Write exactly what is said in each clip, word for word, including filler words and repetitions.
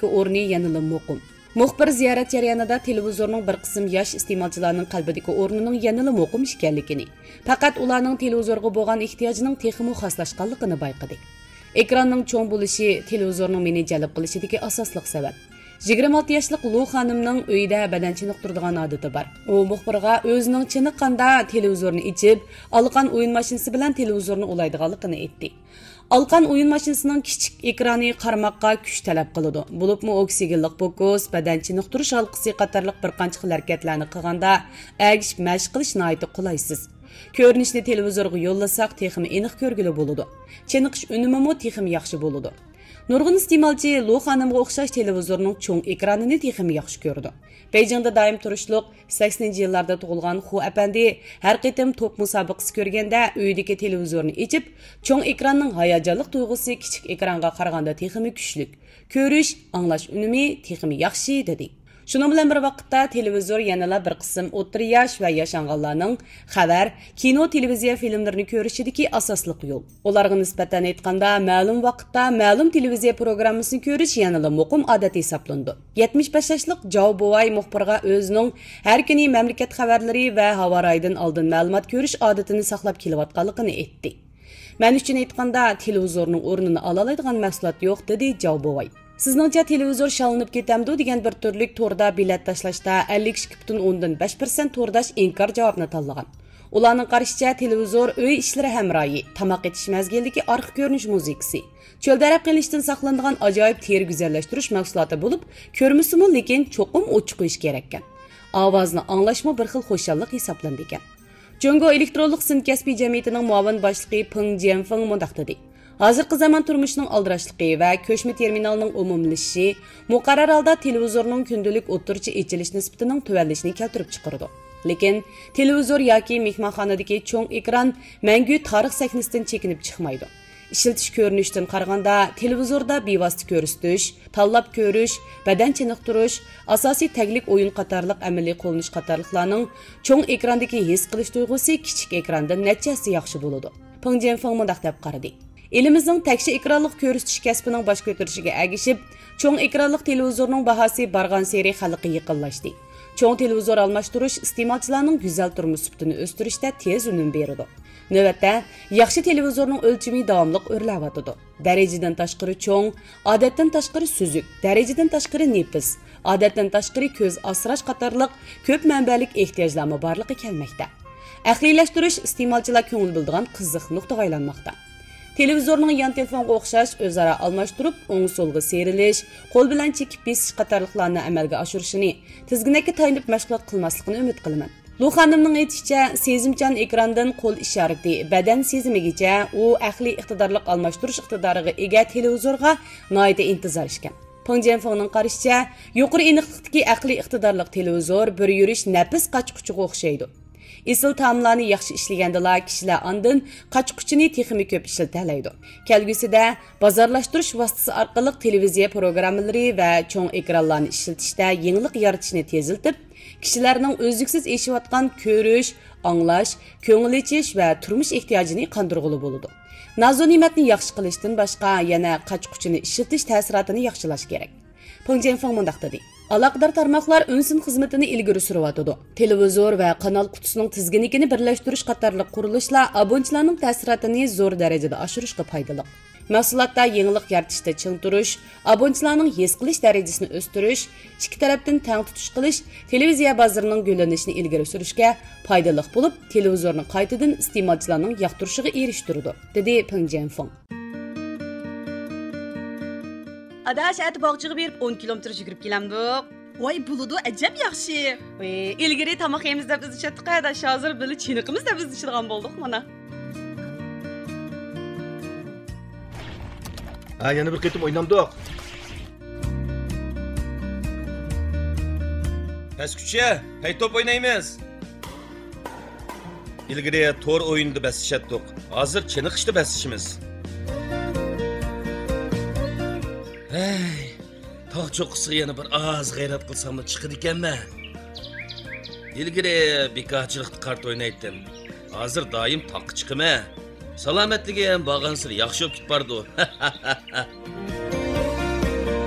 ئورنى يەنىلا مۇقىم. مۇخبىر زىيارەت جەريانىدا تېلېۋىزورنىڭ بىر قىسىم ياش ئىستېمالچىلارنىڭ قەلبىدىكى ئورنىنىڭ يەنىلا مۇقىم ئىكەنلىكىنى، پەقەت ئۇلارنىڭ تېلېۋىزورغا بولغان ئېھتىياجىنىڭ تېخىمۇ خاسلاشقانلىقىنى بايقىدى. ئېكراننىڭ چوڭ بولۇشى تېلېۋىزورنىڭ مېنى جەلپ قىلىشىدىكى ئاساسلىق سەۋەب. يىگىرمە ئالتە ياشلىق لۇ خانىمنىڭ ئۆيىدە بەدەن چېنىقتۇرىدىغان ئادىتى بار. ئۇ مۇخبىرغا ئۆزىنىڭ چېنىققاندا تېلېۋىزورنى ئېچىپ، ئالىقان ئويۇن ماشىنىسى بىلەن تېلېۋىزورنى ئۇلايدىغانلىقىنى ئېيتتى. ئالىقان ئويۇن ماشىنىسىنىڭ كىچىك ئېكرانى قارىماققا كۈچ تەلەپ قىلىدۇ. بولۇپمۇ ئوكسىگېنلىق پوكۇس، بەدەن چېنىقتۇرۇش ھالقىسى قاتارلىق بىر قانچە خىل ھەرىكەتلەرنى قىلغاندا ئەگىشىپ مەشىق قىلىش ناھايىتى قولايسىز. كۆرۈنۈشنى تېلېۋىزورغا يوللىساق تېخىمۇ ئېنىق كۆرگىلى بولىدۇ. چېنىقىش ئۈنۈمىمۇ تېخىمۇ ياخشى بولىدۇ. نۇرغۇن ئىستېمالچى لۇ خانىمغا ئوخشاش تېلېۋىزورنىڭ چوڭ ئېكرانىنى تېخىمۇ ياخشى كۆرىدۇ. بېيجىڭدا دائىم تۇرۇشلۇق سەكسىنىنچى يىللاردا تۇغۇلغان خۇ ئەپەندى ھەر قېتىم توپ مۇسابىقىسى كۆرگەندە ئۆيىدىكى تېلېۋىزورنى ئېچىپ، چوڭ ئېكراننىڭ ھاياجانلىق تۇيغۇسى كىچىك ئېكرانغا قارىغاندا تېخىمۇ كۈچلۈك. كۆرۈش، ئاڭلاش ئۈنۈمى تېخىمۇ ياخشى، دېدى. شۇنىڭ بىلەن بىر ۋاقىتتا، تېلېۋىزور يەنىلا بىر قىسىم ئوتتۇرا ياش ۋە ياشانغانلارنىڭ خەۋەر، كىنو، تېلېۋىزىيە فىلىملىرىنى كۆرۈشىدىكى ئاساسلىق يول. ئۇلارغا نىسبەتەن ئېيتقاندا، مەلۇم ۋاقىتتا مەلۇم تېلېۋىزىيە پروگراممىسىنى كۆرۈش يەنىلا مۇقىم ئادەت ھېسابلىنىدۇ. يەتمىش بەش ياشلىق جاۋ بوۋاي مۇخبىرغا ئۆزىنىڭ ھەر كۈنى مەملىكەت خەۋەرلىرى ۋە ھاۋا رايىدىن ئالدىن مەلۇمات كۆرۈش ئادىتىنى ساقلاپ كېلىۋاتقانلىقىنى ئېيتتى. مەن ئۈچۈن ئېيتقاندا، تېلېۋىزورنىڭ ئورنىنى ئالالايدىغان مەھسۇلات يوق، دېدى جاۋ بوۋاي. سىزنىڭچە تېلېۋىزور شاللىنىپ كېتەمدۇ دېگەن بىر تۈرلۈك توردا بېلەت تاشلاشتا ئەللىك ئىككى پۈتۈن ئوندىن بەش پىرسەنت تورداش ئىنكار جاۋابىنى تاللىغان. ئۇلارنىڭ قارىشىچە، تېلېۋىزور ئۆي ئىشلىرى ھەمراھى، تاماق ئېتىش مەزگىلىدىكى ئارقا كۆرۈنۈش مۇزىكىسى، چۆلدە ئەرەب قىلىشتىن ساقلىنىدىغان ئاجايىپ تېرە گۈزەللەشتۈرۈش مەھسۇلاتى بولۇپ، كۆرمىسىمۇ، لېكىن چوقۇم ئوچۇق قويۇش كېرەككەن. ئاۋازنى ئاڭلاشمۇ بىر خىل خۇشاللىق ھېسابلىنىدىكەن. جۇڭگو ئېلېكترونلۇق سىن كەسپىي جەمئىيىتىنىڭ مۇئاۋىن باشلىقى پېڭ جيەنفېڭ مۇنداق دېدى: ھازىرقى زامان تۇرمۇشىنىڭ ئالدىراشلىقى ۋە كۆچمە تېرمىنالنىڭ ئومۇملىشىشى مۇقەررەر ھالدا تېلېۋىزورنىڭ كۈندىلىك ئوتتۇرىچە ئېچىلىش نىسبىتىنىڭ تۆۋەنلىشىنى كەلتۈرۈپ چىقىرىدۇ. لېكىن تېلېۋىزور ياكى مېھمانخانىدىكى چوڭ ئېكران مەڭگۈ تارىخ سەھنىسىدىن چېكىنىپ چىقمايدۇ. ئىشلىتىش كۆرۈنۈشىدىن قارىغاندا، تېلېۋىزوردا بىۋاسىتە كۆرسىتىش، تاللاپ كۆرۈش، بەدەن چېنىقتۇرۇش، ئاساسىي تەگلىك ئويۇن قاتارلىق ئەمەلىي قوللىنىش قاتارلىقلارنىڭ چوڭ ئېكراندىكى ھېس قىلىش تۇيغۇسى كىچىك ئېكراندىن نەچچە ھەسسە ياخشى بولىدۇ. پېڭ جيەنفېڭ مۇنداق دەپ قارىدى: ئېلىمىزنىڭ تەكشى ئېكرانلىق كۆرسىتىش كەسپىنىڭ باش كۆتۈرۈشىگە ئەگىشىپ، چوڭ ئېكرانلىق تېلېۋىزورنىڭ باھاسى بارغانسېرى خەلققە يېقىنلاشتى. چوڭ تېلېۋىزور ئالماشتۇرۇش ئىستېمالچىلارنىڭ گۈزەل تۇرمۇش سۈپىتىنى ئۆستۈرۈشتە تېز ئۈنۈم بېرىدۇ. نۆۋەتتە، ياخشى تېلېۋىزورنىڭ ئۆلچىمى داۋاملىق ئۆرلەۋاتىدۇ. دەرىجىدىن تاشقىرى چوڭ، ئادەتتىن تاشقىرى سۈزۈك، دەرىجىدىن تاشقىرى نېپىز، ئادەتتىن تاشقىرى كۆز ئاسراش قاتارلىق كۆپ مەنبەلىك ئېھتىياجلارمۇ بارلىققا كەلمەكتە. ئەقلىيلەشتۈرۈش ئىستېمالچىلار كۆڭۈل بۆلىدىغان قىزىق نۇقتىغا ئايلانماقتا. تېلېۋىزورنىڭ يان تېلېفونغا ئوخشاش ئۆزئارا ئالماشتۇرۇپ، ئوڭ سولغا سىيرىلىش، قول بىلەن چېكىپ بېسىش قاتارلىقلارنى ئەمەلگە ئاشۇرۇشىنى، تىزگىنەككە تايىنىپ مەشغۇلات قىلماسلىقىنى ئۈمىد قىلىمەن. لۇ خانىمنىڭ ئېيتىشىچە، سېزىمچان ئېكراندىن قول ئىشارىتى، بەدەن سېزىمىگىچە ئۇ ئەقلىي ئىقتىدارلىق ئالماشتۇرۇش ئىقتىدارىغا ئىگە تېلېۋىزورغا ناھايىتى ئىنتىزار ئىكەن. پېڭ جيەنفېڭنىڭ قارىشىچە، يۇقىرى ئېنىقلىقتىكى ئەقلىي ئىقتىدارلىق تېلېۋىزور بىر يۈرۈش نەپىس قاچا-قۇچىغا ئوخشايدۇ. ئېسىل تائاملارنى ياخشى ئىشلىگەندىلا، كىشىلەر ئاندىن قاچا-قۇچىنى تېخىمۇ كۆپ ئىشلىتەلەيدۇ. كەلگۈسىدە بازارلاشتۇرۇش ۋاسىتىسى ئارقىلىق تېلېۋىزىيە پروگراممىلىرى ۋە چوڭ ئېكرانلارنى ئىشلىتىشتە يېڭىلىق يارىتىشنى تېزلىتىپ، كىشىلەرنىڭ ئۈزلۈكسىز ئېشىۋاتقان كۆرۈش، ئاڭلاش، كۆڭۈل ئېچىش ۋە تۇرمۇش ئېھتىياجىنى قاندۇرغىلى بولىدۇ. نازۇنېمەتنى ياخشى قىلىشتىن باشقا، يەنە قاچا-قۇچىنى ئىشلىتىش تەسىراتىنى ياخشىلاش كېرەك. پېڭ جيەنفېڭ مۇنداق دېدى: ئالاقىدار تارماقلار ئۈن سىن خىزمىتىنى ئىلگىرى سۈرۈۋاتىدۇ. تېلېۋىزور ۋە قانال قۇتىسىنىڭ تىزگىنلىكىنى بىرلەشتۈرۈش قاتارلىق قۇرۇلۇشلار ئابۇنىچىلارنىڭ تەسىراتىنى زور دەرىجىدە ئاشۇرۇشقا پايدىلىق. مەھسۇلاتتا يېڭىلىق يارىتىشتا چىڭ تۇرۇش، ئابۇنىچىلارنىڭ ھېس قىلىش دەرىجىسىنى ئۆستۈرۈش، ئىككى تەرەپتىن تەڭ تۇتۇش قىلىش تېلېۋىزىيە بازىرىنىڭ گۈللىنىشىنى ئىلگىرى سۈرۈشكە پايدىلىق بولۇپ، تېلېۋىزورنى قايتىدىن ئىستېمالچىلارنىڭ ياقتۇرۇشىغا ئېرىشتۈرىدۇ، دېدى پېڭ جيەنفېڭ. ئاداش، ئەتە باغچىغا بېرىپ ئون كىلومېتىر يۈگۈرۈپ كېلەمدۇق؟ ۋاي، بولىدۇ، ئەجەب ياخشى. ۋى، ئىلگىرى تاماق يەيمىز دەپ ئىزدىشەتتۇق ئاداش، ھازىر بىللە چېنىقىمىز دەپ ئىزدىشىدىغان بولدۇق مانا. ھە، يەنە بىر قېتىم ئوينامدۇق؟ پەسكۈچە، پەي توپ ئوينايمىز. ئىلگىرى تور ئويۇنىدا بەسلىشەتتۇق، ھازىر چېنىقىشتا بەسلىشىمىز. ھەي، تاغ چوققىسىغا يەنە بىر ئاز غەيرەت قىلساملا چىقىدىكەنمەن. ئىلگىرى بىكارچىلىقتا كارتا ئوينايتتىم، ھازىر دائىم تاغقا چىقىمەن. سالامەتلىكىم بارغانسېرى ياخشى بولۇپ كېتىپ بارىدۇ.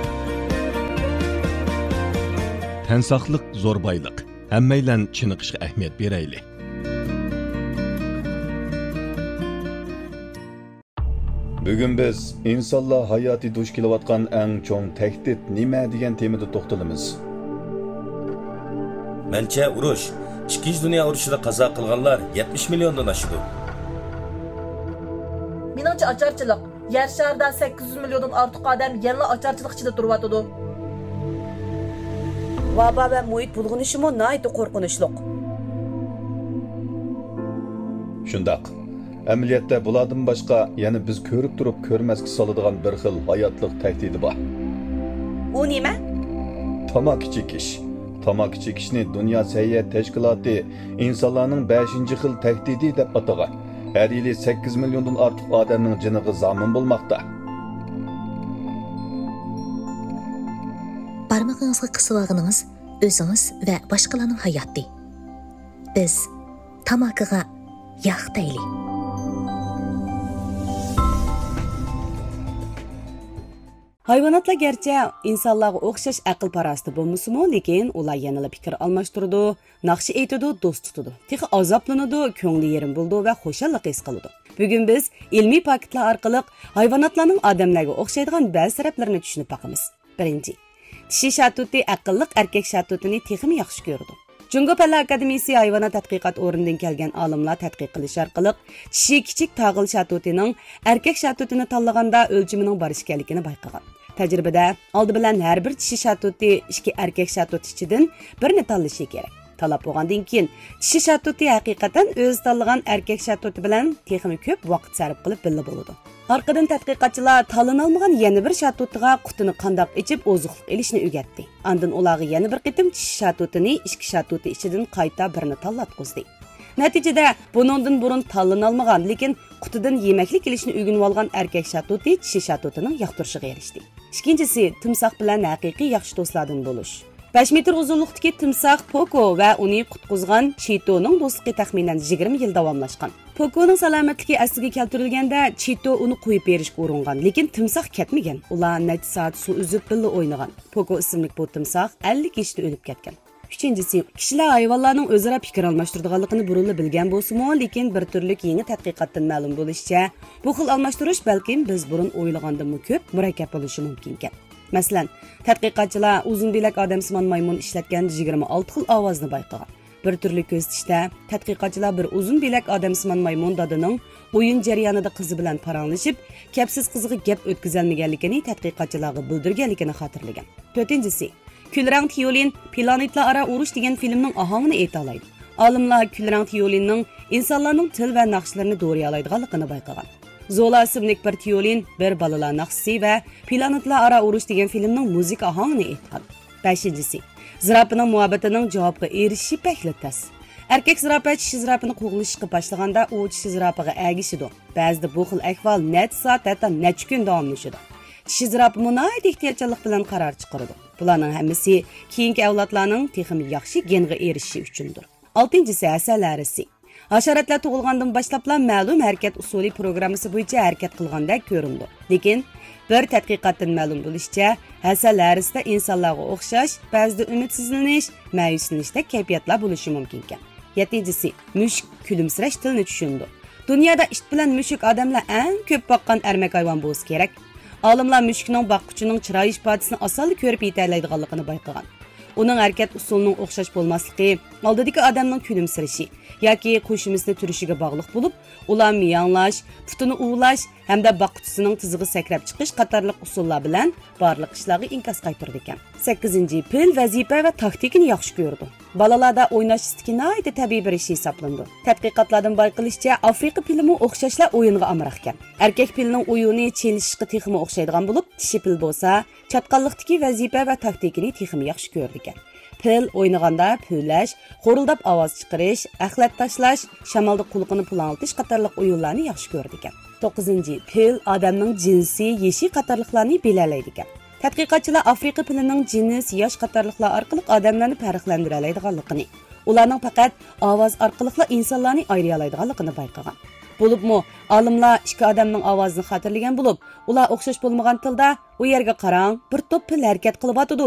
تەن ساقلىق زور بايلىق. ھەممەيلەن چېنىقىشقا ئەھمىيەت بېرەيلى. بۈگۈن بىز ئىنسانلار ھاياتى دۇچ كېلىۋاتقان ئەڭ چوڭ تەھدىت نېمە دېگەن تېمىدا توختىلىمىز. مەنچە، ئۇرۇش، ئىككىنچى دۇنيا ئۇرۇشىدا قازا قىلغانلار يەتمىش مىليوندىن ئاشىدۇ. مېنىڭچە، ئاچارچىلىق. يەر شارىدا سەككىز يۈز مىليوندىن ئارتۇق ئادەم يەنىلا ئاچارچىلىق ئىچىدە تۇرۇۋاتىدۇ. ۋابا ۋە مۇھىت بۇلغىنىشىمۇ ناھايىتى قورقۇنچلۇق. شۇنداق. ئەمەلىيەتتە بۇلاردىن باشقا يەنە بىز كۆرۈپ تۇرۇپ كۆرمەسكە سالىدىغان بىر خىل ھاياتلىق تەھدىتى بار. ئۇ نېمە؟ تاماكا چېكىش. تاماكا چېكىشنى دۇنيا سەھىيە تەشكىلاتى ئىنسانلارنىڭ بەشىنچى خىل تەھدىتى دەپ ئاتىغان. ھەر يىلى سەككىز مىليوندىن ئارتۇق ئادەمنىڭ جېنىغا زامىن بولماقتا. بارمىقىڭىزغا قىسىۋالغىنىڭىز ئۆزىڭىز ۋە باشقىلارنىڭ ھاياتى. بىز تاماكىغا ياق دەيلى. ھايۋاناتلار گەرچە ئىنسانلارغا ئوخشاش ئەقىل-پاراسىتى بولمىسىمۇ، لېكىن ئۇلار يەنىلا پىكىر ئالماشتۇرىدۇ، ناخشا ئېيتىدۇ، دوست تۇتىدۇ. تېخى ئازابلىنىدۇ، كۆڭلى يېرىم بولىدۇ ۋە خۇشاللىق ھېس قىلىدۇ. بۈگۈن بىز ئىلمىي پاكىتلار ئارقىلىق ھايۋاناتلارنىڭ ئادەملەرگە ئوخشايدىغان بەزى تەرەپلىرىنى چۈشىنىپ باقىمىز. بىرىنچى، چىشى شاتۇتى ئەقىللىق ئەركەك شاتۇتىنى تېخىمۇ ياخشى كۆرىدۇ. جۇڭگو پەنلەر ئاكادېمىيىسى ھايۋانات تەتقىقات ئورنىدىن كەلگەن ئالىملار تەتقىق قىلىش ئارقىلىق، چىشى كىچىك تاغىل شاتۇتىنىڭ ئەركەك شاتۇتىنى تاللىغاندا ئۆلچىمىنىڭ بار ئىكەنلىكىنى بايقىغان. تەجرىبىدە ئالدى بىلەن ھەر بىر چىشى شاتۇتى ئىككى ئەركەك شاتۇت ئىچىدىن بىرنى تاللىشى كېرەك. تاللاپ بولغاندىن كېيىن، چىشى شاتۇتى ھەقىقەتەن ئۆزى تاللىغان ئەركەك شاتۇتى بىلەن تېخىمۇ كۆپ ۋاقىت سەرپ قىلىپ بىللە بولىدۇ. ئارقىدىن تەتقىقاتچىلار تاللىنالمىغان يەنە بىر شاتۇتىغا قۇتىنى قانداق ئېچىپ ئوزۇقلۇق ئېلىشنى ئۆگەتتى. ئاندىن ئۇلارغا يەنە بىر قېتىم چىشى شاتۇتىنى ئىككى شاتۇتى ئىچىدىن قايتا بىرنى تاللاتقۇزدى. نەتىجىدە، بۇنىڭدىن بۇرۇن تاللىنالمىغان، لېكىن قۇتىدىن يېمەكلىك ئېلىشنى ئۆگىنىۋالغان ئەركەك شاتۇتى چىشى شاتۇتىنىڭ ياقتۇرۇشىغا ئېرىشتى. ئىككىنچىسى، تىمساھ بىلەن ھەقىقىي ياخشى دوستلاردىن بولۇش. بەش مېتىر ئۇزۇنلۇقتىكى تىمساھ پوكو ۋە ئۇنى قۇتقۇزغان چىتونىڭ دوستلۇقى تەخمىنەن يىگىرمە يىل داۋاملاشقان. پوكونىڭ سالامەتلىكى ئەسلىگە كەلتۈرۈلگەندە، چىتو ئۇنى قويۇپ بېرىشكە ئۇرۇنغان، لېكىن تىمساھ كەتمىگەن. ئۇلار نەچچە سائەت سۇ ئۈزۈپ بىللە ئوينىغان. پوكو ئىسىملىك بۇ تىمساھ ئەللىك يېشىدا ئۆلۈپ كەتكەن. ئۈچىنچىسى، كىشىلەر ھايۋانلارنىڭ ئۆزئارا پىكىر ئالماشتۇرىدىغانلىقىنى بۇرۇنلا بىلگەن بولسىمۇ، لېكىن بىر تۈرلۈك يېڭى تەتقىقاتتىن مەلۇم بولۇشىچە، بۇ خىل ئالماشتۇرۇش بەلكىم بىز بۇرۇن ئويلىغاندىنمۇ كۆپ مۇرەككەپ بولۇشى مۇمكىنكەن. مەسىلەن، تەتقىقاتچىلار ئۇزۇن بىلەك ئادەمسىمان مايمۇن ئىشلەتكەن يىگىرمە ئالتە خىل ئاۋازنى بايقىغان. بىر تۈرلۈك كۆزىتىشتە، تەتقىقاتچىلار بىر ئۇزۇن بىلەك ئادەمسىمان مايمۇن دادىنىڭ ئويۇن جەريانىدا قىزى بىلەن پاراڭلىشىپ، كەپسىز قىزىغا گەپ ئۆتكۈزەلمىگەنلىكىنى تەتقىقاتچىلارغا بىلدۈرگەنلىكىنى خاتىرىلىگەن. تۆتىنچىسى، كۈلرەڭ تىيولىن پلانېتلار ئارا ئۇرۇش دېگەن فىلىمنىڭ ئاھاڭىنى ئېيتالايدۇ. ئالىملار كۈلرەڭ تىيولىننىڭ ئىنسانلارنىڭ تىل ۋە ناخشىلىرىنى دورىيالايدىغانلىقىنى بايقىغان. زولا ئىسىملىك بىر تىيولىن بىر بالىلار ناخشىسى ۋە پلانېتلار ئارا ئۇرۇش دېگەن فىلىمنىڭ مۇزىكا ئاھاڭىنى ئېيتقان. بەشىنچىسى، زىراپىنىڭ مۇھەببىتىنىڭ جاۋابقا ئېرىشىشى بەكلا تەس. ئەركەك زىراپە چىشى زىراپىنى قوغلىشىشقا باشلىغاندا، ئۇ چىشى زىراپىغا ئەگىشىدۇ. بەزىدە بۇ خىل ئەھۋال نەچچە سائەت، ھەتتا نەچچە كۈن داۋاملىشىدۇ. چىشى زىراپىمۇ ناھايىتى ئېھتىياتچانلىق بىلەن قارار چىقىرىدۇ. بۇلارنىڭ ھەممىسى كېيىنكى ئەۋلادلارنىڭ تېخىمۇ ياخشى گېنغا ئېرىشىشى ئۈچۈندۇر. ئالتىنچىسى، ھەسەل ھەرىسى. ھاشاراتلار تۇغۇلغاندىن باشلاپلا مەلۇم ھەرىكەت ئۇسۇلى پروگراممىسى بويىچە ھەرىكەت قىلغاندەك كۆرۈنىدۇ. لېكىن بىر تەتقىقاتتىن مەلۇم بولۇشىچە، ھەسەل ھەرىسىدە ئىنسانلارغا ئوخشاش، بەزىدە ئۈمىدسىزلىنىش، مەيۈسلىنىشتەك كەيپىياتلار بولۇشى مۇمكىنكەن. يەتتىنچىسى، مۈشۈك كۈلۈمسىرەش تىلنى چۈشىنىدۇ. دۇنيادا ئىت بىلەن مۈشۈك ئادەملەر ئەڭ كۆپ باققان ئەرمەك ھايۋان بولسا كېرەك. ئالىملار مۈشۈكنىڭ باققۇچىنىڭ چىراي ئىپادىسىنى ئاسانلا كۆرۈپ يېتەلەيدىغانلىقىنى بايقىغان. ئۇنىڭ ھەرىكەت ئۇسۇلىنىڭ ئوخشاش بولماسلىقى ئالدىدىكى ئادەمنىڭ كۈلۈمسىرىشى ياكى قوشۇمىسىنى تۈرۈشىگە باغلىق بولۇپ، ئۇلار مىياڭلاش، پۇتىنى ئۇۋىلاش ھەمدە باققۇچىسىنىڭ تىزىغا سەكرەپ چىقىش قاتارلىق ئۇسۇللار بىلەن بارلىق ئىشلارغا ئىنكاس قايتۇرىدىكەن. سەككىزىنچى، پىل ۋەزىپە ۋە تاكتىكىنى ياخشى كۆرىدۇ. بالىلاردا ئويناش ئىستىكى ناھايىتى تەبىئىي بىر ئىش ھېسابلىنىدۇ. تەتقىقاتلاردىن بايقىلىشىچە، ئافرىقا پىلىمۇ ئوخشاشلا ئويۇنغا ئامراقكەن. ئەركەك پىلنىڭ ئويۇنى چېلىشىشقا تېخىمۇ ئوخشايدىغان بولۇپ، چىشى پىل بولسا چاتقاللىقتىكى ۋەزىپە ۋە تاكتىكىنى تېخىمۇ ياخشى كۆرىدىكەن. پىل ئوينىغاندا پۈۋلەش، غورۇلداپ ئاۋاز چىقىرىش، ئەخلەت تاشلاش، شامالدا قۇلىقىنى پۇلاڭلىتىش قاتارلىق ئويۇنلارنى ياخشى كۆرىدىكەن. توققۇزىنچى، پىل ئادەمنىڭ جىنسى، يېشى قاتارلىقلارنى بىلەلەيدىكەن. تەتقىقاتچىلار ئافرىقا پىلىنىڭ جىنس، ياش قاتارلىقلار ئارقىلىق ئادەملەرنى پەرقلەندۈرەلەيدىغانلىقىنى، ئۇلارنىڭ پەقەت ئاۋاز ئارقىلىقلا ئىنسانلارنى ئايرىيالايدىغانلىقىنى بايقىغان. بولۇپمۇ ئالىملار ئىككى ئادەمنىڭ ئاۋازىنى خاتىرىلىگەن بولۇپ، ئۇلار ئوخشاش بولمىغان تىلدا، «ئۇ يەرگە قاراڭ، بىر توپ پىل ھەرىكەت قىلىۋاتىدۇ»